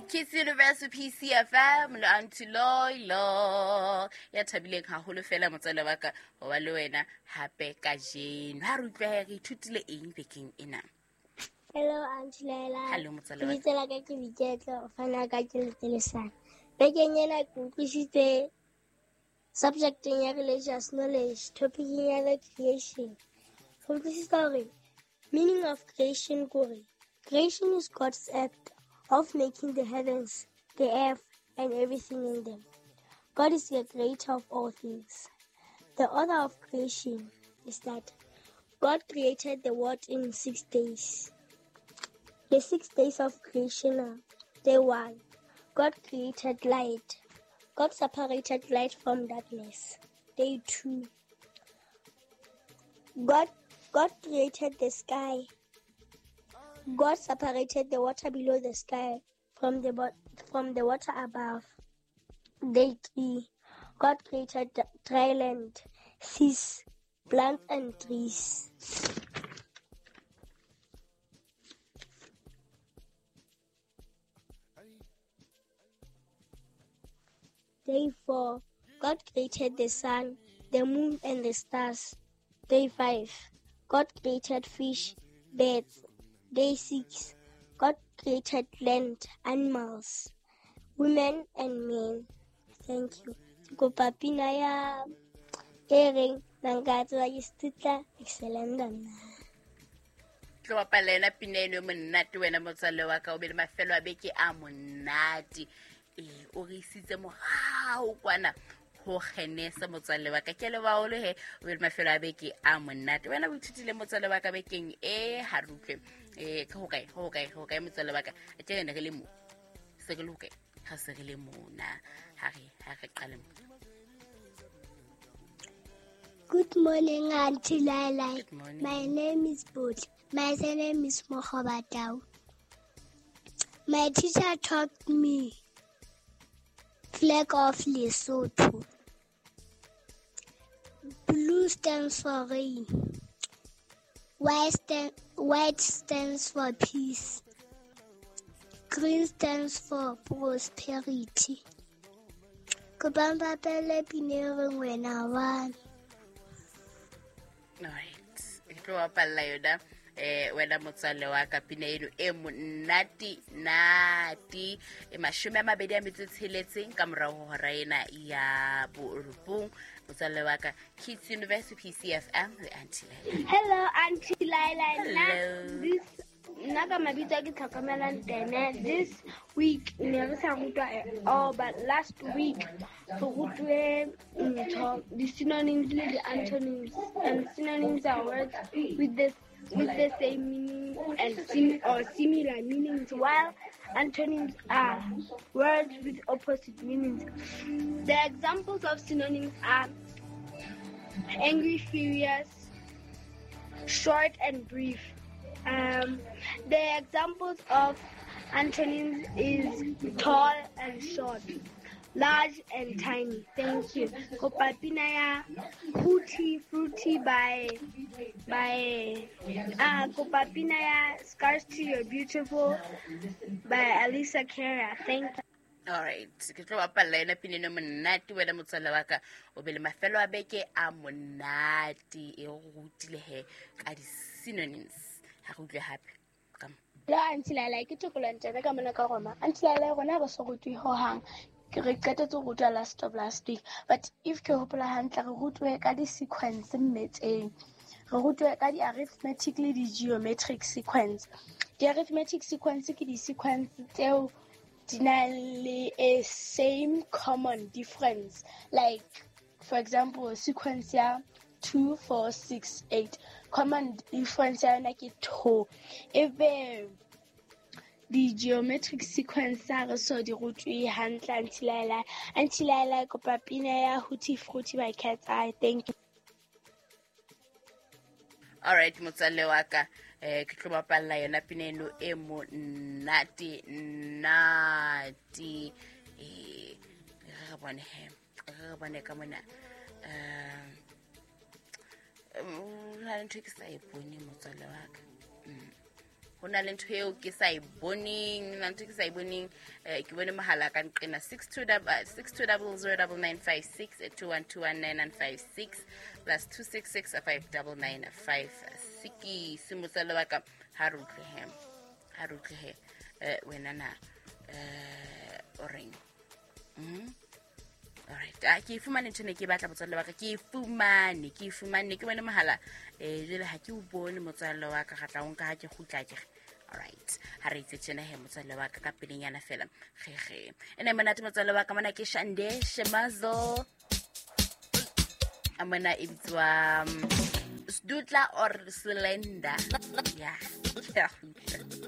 Kids Universe PCFM le Aunty Loilo ya thabileng haholo fela motswale wa ka ho ba le wena hape kajeno. Ha re utlwe re ithutile eng bekeng ena? Hello, Aunty Laila. Hello, motswale wa ka. Lebitso la ka ke Boiketlo, o fana ka ke Letselesana. Bekeng ena ke utlwisitse subjecteng ya religious knowledge, topiceng ya the creation. Ke utlwisisa hore meaning of creation ke hore creation is God's act of making the heavens, the earth, and everything in them. God is the creator of all things. The order of creation is that God created the world in 6 days. The 6 days of creation are: day 1, God created light. God separated light from darkness. Day 2, God created the sky. God separated the water below the sky from the water above. Day 3, God created dry land, seas, plants and trees. Day 4, God created the sun, the moon, and the stars. Day 5, God created fish, birds. Day 6, God created land, animals, women, and men. Thank you. Kopa pina ya e reng nka tseba ke setutla excellent nna. Tlo bapala yona pina eno e monate wena motswalle wa ka, o be le mafelo a beke a monate. O re isitse morao kwana ho Genese motswalle wa ka. Ke a leboha haholo he, o be le mafelo a beke a monate. Wena o ithutile motswalle wa ka bekeng e ha re utlwe. Ke hokae, hokae, hokae motswalle wa ka? Tje re ne re le mo. Se re le hokae? Ha se re le mona. Ha re qale mo. Good morning, Auntie Laila. Good morning. My name is Bot. My surname is Mogobatau. My teacher taught me flag of Lesotho. Blue stands for rain. White stands for peace. Green stands for prosperity. Kopa mpapele pina e reng wena wa me. Right. Ke tlo bapalla yona. Wena motswalle wa ka, pina eno e monate nate. E 26 ka morao ho hora ena ya borobong. Motswalle wa ka, Kids University PCFM le Auntie Laila. Hello, Auntie Laila. Hello. This nna ka mabitso a ke tlhokomelang tene. This week ne re sa rutwa at all, but last week re rutwe ntho, di-synonyms le di-antonyms, and synonyms are words with the same meaning and or similar meanings, while antonyms are words with opposite meanings. The examples of synonyms are angry, furious, short and brief. The examples of antonyms is tall and short, large and tiny. Thank you. Kopa pina ya Hootie Fruity by kopa pina ya Scars to Your Beautiful by Alessia Cara. Thank you. All right. Ke tlo bapalla yona pina eno monate wena motswalle wa ka. O be le mafelo a beke a monate e go rutile he ka di-synonyms. Ha re utlwe hape. Ka mo. Hello, Auntie Laila, ke Tokolo Ntebe ka mona ka Roma. Auntie Laila, rona re so rutwe hohang. Ke re qetetse ho rutwa last of last week. But if ke hopola hantle, re rutwe ka di-sequence mmetseng. Re rutwe ka di-arithmetic le di-geometric sequence. Di-arithmetic sequence ke di-sequence tseo di na le a same common difference. Like, for example, sequence ya 2, 4, 6, 8. Common difference ya yona ke 2. Ebe di-geometric sequence ha re so di rutwe hantle, Auntie Laila. Auntie Laila, kopa pina ya Hootie Fruity by Cat's Eye. Thank you. All right, motswalle wa ka. Ke tlo bapalla yona pina eno e monate nate. Re bone he, re bone ka mona. Ho na le ntho e ke sa e bone motswalle wa ka. Ho na le ntho eo ke sa e boneng, na ntho ke sa e boneng. Ke bone mohala ka nqena 62 009956, 21219956, +266 59956. Motswalle wa ka, ha re utlwe he, ha re utlwe he. Wena na o reng? Alright, ah, ke e fumane ntho ne ke batla, motswalle wa ka, ke e fumane, ke e fumane, ke bone mohala. Jwale ha ke o bone, motswalle wa ka, ga tla o nka ha ke kgutla kere. Alright, ha re itse tjena he, motswalle wa ka, ka pelenyana fela gege ene monate, motswalle wa ka. Mona ke Shande Shemazo, a mona e bitswa Sdutla or Slender. Ya, ke a kgutla.